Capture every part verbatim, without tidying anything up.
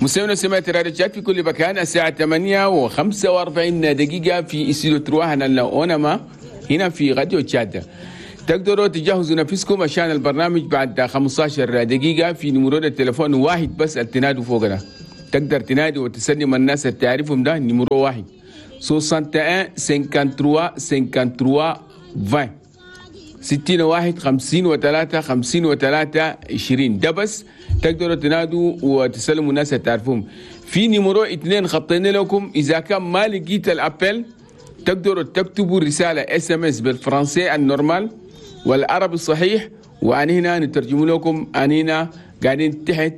مستمعينا ومستمعات راديو تشاد في كل مكان، الساعة ثمانية وخمسة وأربعين دقيقة في استوديو trois هنا أونما هنا في راديو تشاد. تقدروا تجهزوا نفسكم عشان البرنامج بعد خمستاشر دقيقة في numéro التليفون واحد بس التنادوا فوقنا. تقدر تنادي وتسلم الناس اللي تعرفهم، ده numéro واحد واحد وستين ثلاثة وستين ثلاثة وستين عشرين، ستين واحد خمسين وثلاثة خمسين وثلاثة عشرين. ده بس تقدروا تنادوا وتسلموا الناس اللي تعرفوهم. في numéro اثنين خطينا لكم، إذا كان ما لقيت ال appel تقدروا تكتبوا رسالة SMS بالفرنسي ال normal والعربي الصحيح، وأنا هنا نترجم لكم. أنا هنا قاعدين تحت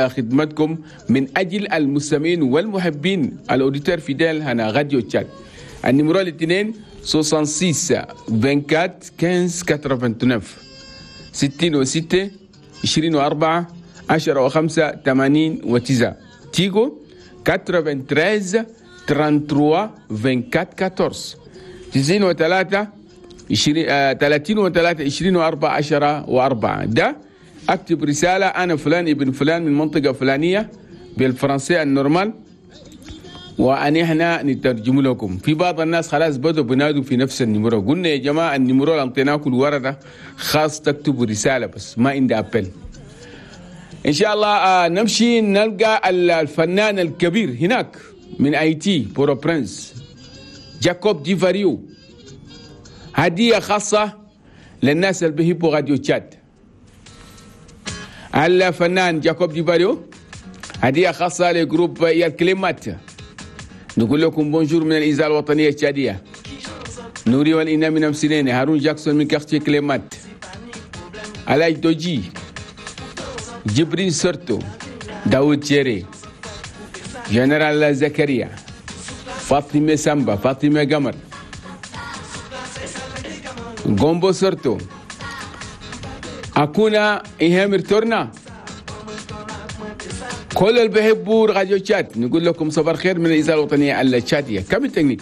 خدمتكم من أجل المستمعين والمحبين ال auditeurs fidèles هنا راديو تشاد. ال numéro الاثنين ستة وستين أربعة وعشرين خمستاشر تسعة وثمانين، ستين وستة عشرين وأربعة عشرة وخمسة ثمانين وتسعة. تيجو تسعة وثمانين ثلاثة وثلاثين أربعة وعشرين أربعتاشر، تسعين وثلاثة ثلاثين وثلاثة عشرين وأربعة عشرة وأربعة. ده أكتب رسالة: أنا فلان ابن فلان من منطقة فلانية بالفرنسية ال normal، وأن احنا نترجم لكم. في بعض الناس خلاص بدوا بنادوا في نفس ال numéro. قلنا يا جماعة، ال numéro اللي انطيناكم الورا ده خاص تكتبوا رسالة بس، ما عندي appel. ان شاء الله آه نمشي نلقى الفنان الكبير هناك من هايتي بورتو برنس، جاكوب ديفاريو، هدية خاصة للناس اللي بيحبوا راديو تشاد. الفنان جاكوب ديفاريو، هدية خاصة ل groupe يال كلمات. نقول لكم bonjour من الإذاعة الوطنية التشادية. نوري والإنا من أمسلين، هارون جاكسون من quartier كليمات، علاج دوجي، جبرين سرتو، داود جيري، جنرال زكريا، فاطمة سامبا، فاطمة قمر، غومبو سرتو، أكونا إيهامر تورنا، كل اللي بيحبوا راديو تشاد، نقول لكم صباح الخير من الإذاعة الوطنية التشادية. كم التكنيك.